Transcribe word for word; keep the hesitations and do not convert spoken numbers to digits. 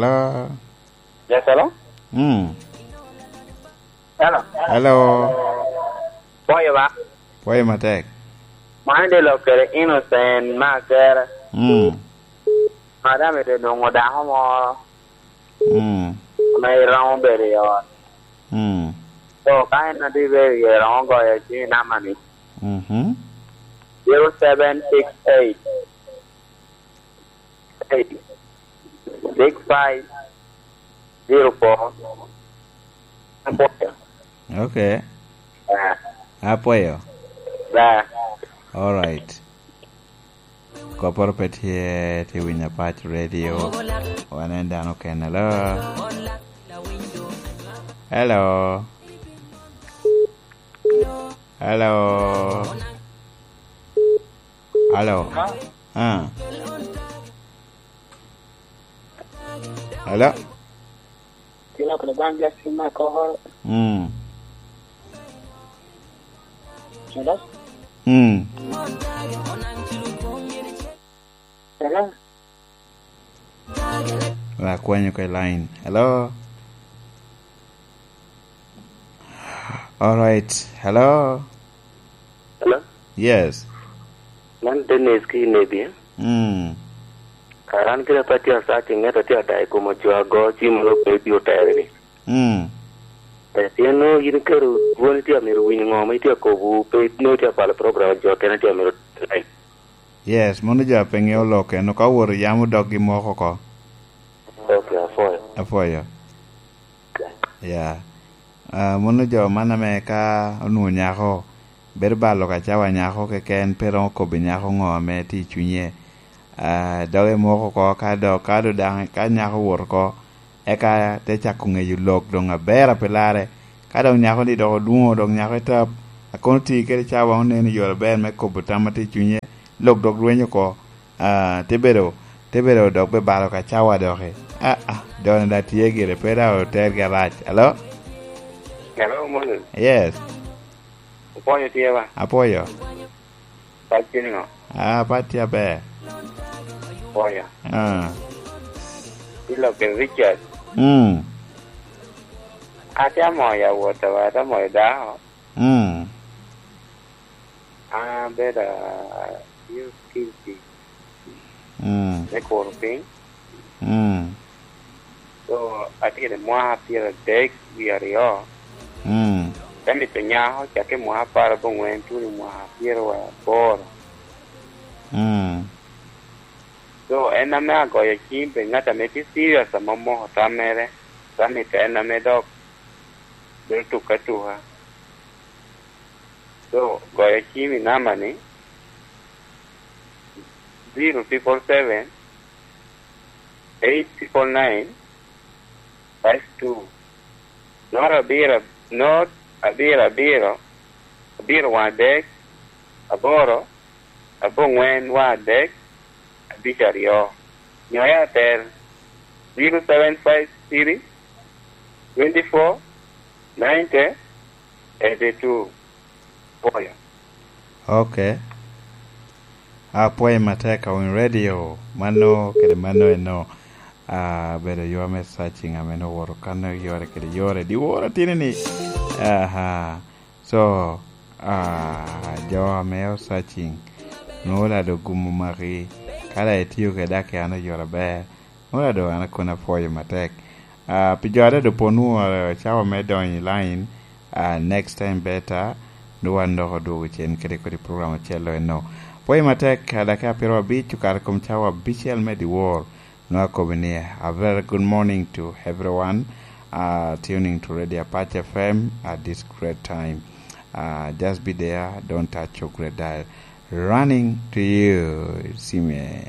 Hello? Yes, hello? Mm. Hello? Hello? Pwoyo ba? Pwoyo matek. Man de lok kede Innocent me Akere. Mm. Madam ite nwoŋo dako moro. Mm. Ame iromo bedo i ot. Mm. So, ka en a tye bedo iye, romo goyo cim i namba ni. Mhm. Zero seven six eight, eight, six five, zero four. Apwoyo. Okay. Ah. Apwoyo. Ba. All right. Kopporo pe tye, tye winyo Apac Radio. Wan en dano kene. Hello? Hello? Hello? Hello? Ah. Hello? Kila kula bang Justin Makor. Mm. Hello? Mm. Hello? Wa kwanyo ka i line. Hello? All right. Hello? Hello? Yes. Man Dennis ki Nebia. Mm. Kara an kede pa tye asac i ŋet atye ada i kom ojo ago cim ro pe bi otere ni. Mm. Eh, pien nwoŋo yin kero dwoni tye amito winyo ŋo ma itye akobo, pe nwoŋo itye apalo program jo kene tye amito. Yes, mono jo a pe ŋeo lok eno ka owoto yam odok gi moko oko. Okay, apwoyo. Apwoyo. Ya. Ah, mono jo man ame ka onwoŋo nyako, bedo balo ka cawa nyako keken, pe romo kobbi nyako ŋo ame tye i cunye. Ah, doge moko oko, ka dok, ka do daŋ, ka nyako owoto oko, eka te cako ŋeyo lok doŋ aber a pe larre. Ka dok nyako ni dok odwoŋo, dok nyako etap, a kono ti kede cawa oneno yore aber me kobo tam a tye i cunye, lok dok rwenyo oko. Ah, te bedo, te bedo dok be balo ka cawa doki. Ah, ah, done da tye gire, pe da otergi arac. Hello? Hello, morning. Yes. Opwoyo tye ba? Apwoyo. Pat tye niŋo? Ah, pat tye aber. Opwoyo. Ah. Ilo kin Richard. Mm. Ate amoyo awot awa, ate amoyo dako. Mm. An abedo, ah, youth guilty. Mm. Me kuro piny. Mm. So, atye i mwaka pyeradek wie aryo. Mm. Te mito nyako, cakke i mwaka apar abongwen, tuno i mwaka pyeraboro. Mm. So, en ame agoyo cim pi ŋat ame tye serious ame omoko tam mere, te mito en ame dok bedo tuke atuka. So, goyo cim i namba ni, zero triple seven, eight triple nine, five two. Not abiro, not abiro, abiro, abiro waŋ adek, aboro, abongwen waŋ adek, abic aryo. Nyo Airtel, zero seven five three, twenty four, ninety, eighty two. Pwoyo. Okay. Apwoyo matek, awinyo radio. Mano kede mano eno. Ah, bedo yo me searching ame nwoŋo owoto kan yore kede yore. Dyewor atini ni. Aha. So, ah, jo ame o searching, nwoŋo lado gumo maki. Ka la itiyo kede dak an oyore aber. Ora do an akona pwoyo matek. Ah, pi jo aryo do pon wu, ah, cawa me donyo i line, ah, next time better, nwoŋo wan dok odwogo cen kede kodi program ocel lo eno. Pwoyo matek, ah, dakika pyero abic okato i kom cawa abicel me dyewor. Nwoŋo akobo ni, a very good morning to everyone, ah, tuning to Radio Apache F M at this great time. Ah, just be there, don't touch your great dial. Running to you, Sime.